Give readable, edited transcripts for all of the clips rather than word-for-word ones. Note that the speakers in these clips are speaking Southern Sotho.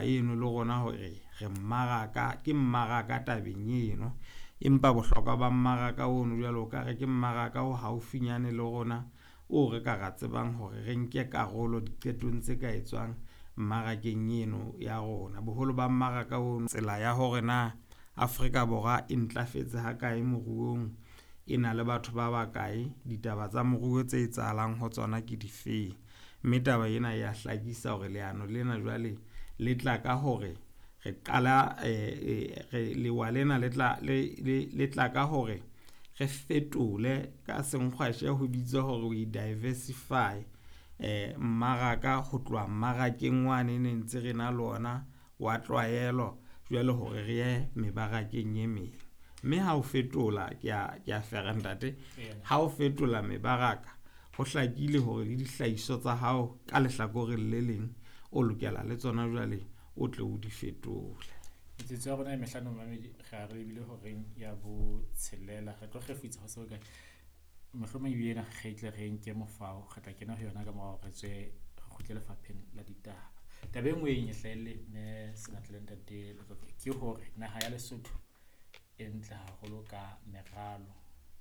Eno le rona hore re mmaraka, ke mmaraka tabeng eno. Empa bohlokwa ba mmaraka ono jwale o ka re ke mmaraka o haufinyane le rona, o re ka ra tsebang hore re nke karolo diqetong tse ka etswang mmarakeng eno ya rona. Boholo ba mmaraka ono tsela ya hore na Afrika Borwa e ntlafetse ha kae moruong, e na le batho ba bakae, ditaba tsa moruo tse etsahalang ho tsona ke difeng. Mme taba ena ya hlakisa hore leano lena jwale le tla ka hore re qala lewa lena le tla le tla ka hore re fetole ka senkgwashe ho bitswa hore we diversify mmaraka ho tloha mmarakeng wane ne ntse re na le ona wa tlwaelo jwale hore re ye mebarakeng e meng. Mme ha o fetola ke a fera ntate, ha o fetola mebaraka ho hlakile hore le dihlahiswa tsa hao ka lehlakoreng le leng o lokela le tsona jwale o tle o di fetole. Metsotso ya rona e mehlano mamedi re a re ebile horeng ya botshelela, re tlo kgefutsa ho se hokae. Mohlomong ebile ena re tle re nke mofao, re tla kena ho yona ka mora hore re tswe re kgutle lefapheng la ditaba. Taba e nngwe e hlahelle mme Senatla le ntate Letlotlo ke hore naha ya Lesotho e ntle haholo ka meralo,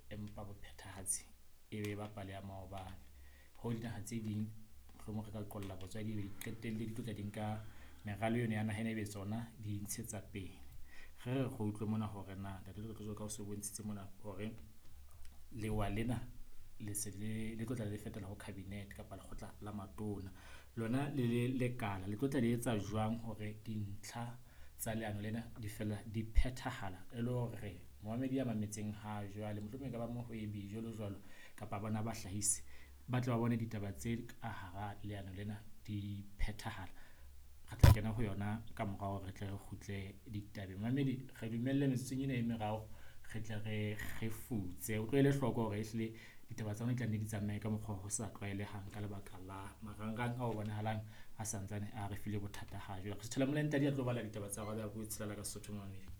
empa bophethahatsi e be ba pale ya maobane. Ho dinaha tse ding mohlomong re ka qolla botswadi ebe di qetelle di tlotla di nka meralo eno ya naha ena ebe tsona di ntshetsa pele. Re re utlwe mona hore na ntate Letlotlo jwalo ka o so bontshitse mona hore lewa lena le se le tlotla le fetela ho cabinet kapa lekgotla la matona. Lona le le lekala le tlotla le etsa jwang hore dintlha tsa leano lena di fela di phethahala e le hore momamedi ya mametseng ha jwale, mohlomong e ka ba mohwebi jwalo jwalo kapa bona bahlahisi ba tle ba bone ditaba tse ka hara leano lena di phethahala. Re tla kena ho yona ka mora hore re tle re kgutle ditabeng. Mamedi re dumelle metsotsong ena e meraro re tle re kgefutse. O tlo ele hloko hore ehlile ditaba tsa rona di tla nne di tsamaye ka mokgwa o sa tlwaelehang ka lebaka la marangrang ao bonahalang a santsane a re file bothata ha jwale. Re suthela molentadi a tlo bala ditaba tsa hora ya botshelela ka Sesotho momamedi.